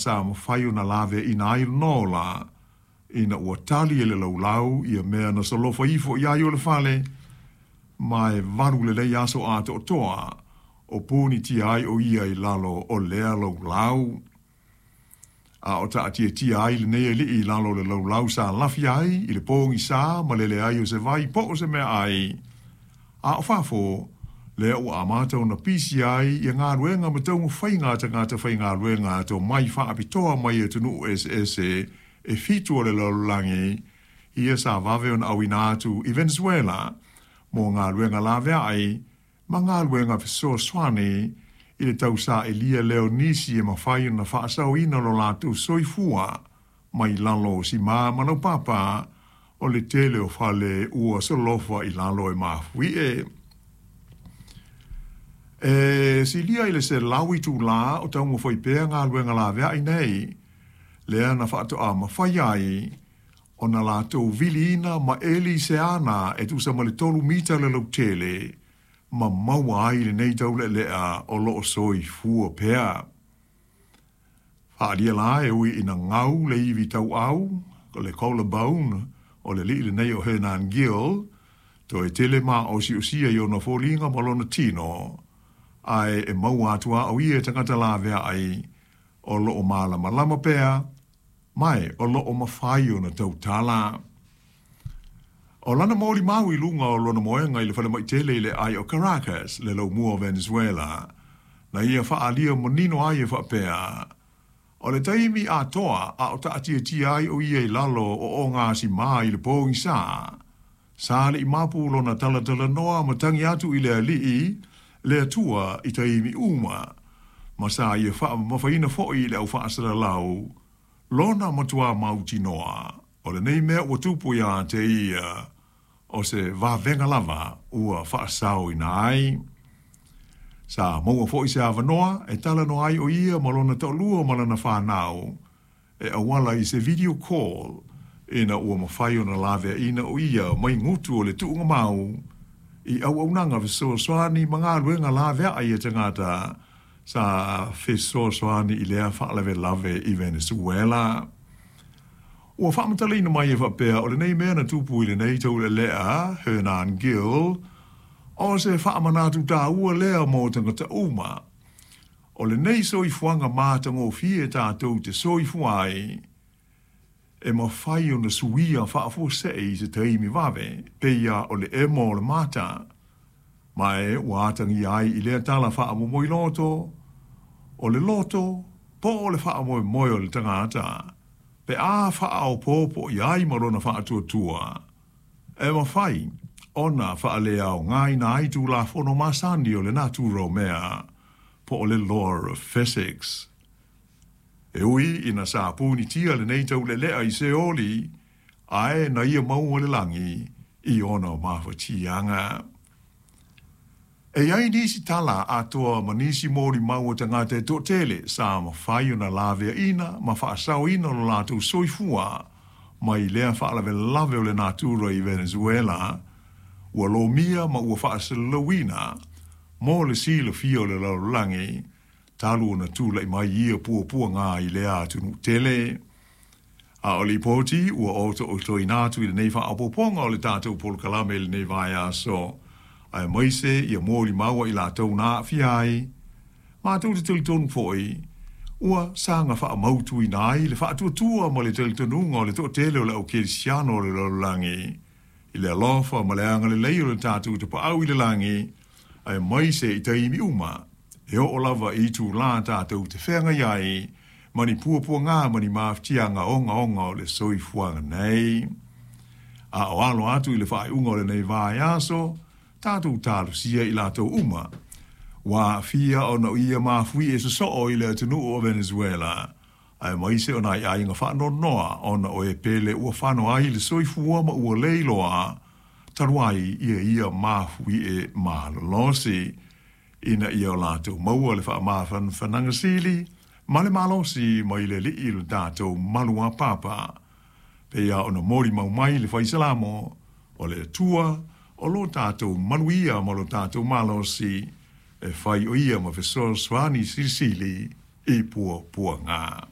sa mafai ona laveaiina ai lona ola, ina ua tali e le laulau ia mea na solofa ifo i ai o le fale, ma e valu lelei aso atoatoa o punitia ai o ia i lalo o lea laulau. A o taatiatia ai lenei alii i lalo o le laulau sa lafi ai i le pogisa ma le leai o se vai po o se meaai, a o fafo, lea ua amata ona pisi ai ia galuega ma taumafaiga a tagata faigaluega tomai faapitoa mai atunuu eseese e fitu o le lalolagi, ia sa vave ona auina atu i Venezuela mo galuega laveai ma galuega fesoasoani i le tausailia lea o nisi e mafai ona faasaoina lo latou soifua mai lalo o simā ma laupapa o le tele o fale ua solofa i lalo e mafuie. E silia i le 100 itulā o taumafai pea galuega laveai nei, lea na faatoa mafai ai ona latou viliina ma eli se ana e tusa ma le 3 mita le lautele, ma maua ai lenei taulealea o lo o soifua pea. Faaalia la e ui ina gau le ivi tauau, le collarbone, o le alii lenei o Hernan Gil, toe tele maosiosia i ona foliga ma lona tino, ae e maua atu lava o ia e tagata laveai o lo o malamalama pea, ma e o lo o mafai ona tautala. O lana molimau i luga o lona moega i le falemai tele i le aai o Caracas, le laumua o Venezuela, na ia faaalia manino ai e faapea, o le taimi atoa a o taatiatia ai o ia i lalo o ogasimā i le pogisa, sa le i mapu lona talatalanoa ma tagi atu i le Alii, le Atua i taimi uma, ma sa ia faamamafaina foi i le au faasalalau lona matuā mautinoa o lenei mea ua tupu ia te ia, o se vavega lava ua faasaoina ai. Sa maua foi se avanoa e talanoa ai o ia ma lona toalua ma lana fanau e auala i se video call ina ua mafai ona laveaiina o ia mai gutu o le tuugamau i auaunaga fesoasoani ma galuega laveai a tagata sa fesoasoani i lea faalavelave i Venezuela. Ua faamatalaina mai e faapea o lenei mea na tupu i lenei taulealea, Hernan Gil, o se faamanatu taua lea mo tagata uma. O lenei soifuaga matagofie tatou te soifua ai, e mafai ona suia faafuasei i se taimi vave, pei lava o le emo o le mata. Ma e ua atagia ai i lea tala faamomoiloto, o le loto po o le faamoemoe o le tagata, pe a faaopoopo i ai ma lona faatuatua, e mafai ona faaleaogaina ai tulafono masani o le natura o mea, po o le law of physics. E ui ina sa punitia lenei taulealea i Seoli, ae na ia maua le lagi i ona mafatiaga. E i ai nisi tala atoa ma nisi molimau a tagata e toatele sa mafai ona laveaiina ma faasaoina lo latou soifua mai lea faalavelave o le natura i Venezuela, ua lomia ma ua faasalalauina mo le silafia o le lalolagi talu ona tulai mai ia puapuaga i lea atunuu tele. A o lipoti ua otootoina atu i lenei faaopoopoga o le tatou polokalame i lenei vaiaso, aemaise ia molimau a i latou na aafia ai, matou te talitonu foi, ua saga faamautuina ai le faatuatua ma le talitonuga o le toatele o le au kerisiano o le lalolagi i le alofa ma le agalelei o le tatou Tapaau i le lagi, aemaise i taimi uma e oo lava i itulā tatou te feagai ai ma ni puapuaga ma ni mafatiaga ogaoga o le soifuaga nei. A o alo atu i le faaiuga o lenei vaiaso, tatou talosia i latou uma ua aafia ona o ia mafuie sosoo i le atunuu o Venezuela, aemaise o nai aiga faanoanoa ona o e pele ua fano ai le soifua ma ua le iloa talu ai ia ia mafuie malolosi, ina ia o latou maua le faamafanafanaga sili ma le malosi mai le Alii lo tatou maluapapa. Pei lava ona molimau mai le Fai Salamo, o le Atua o lo tatou maluia ma lo tatou malosi, e fai o ia ma fesoasoani silisili i puapuaga.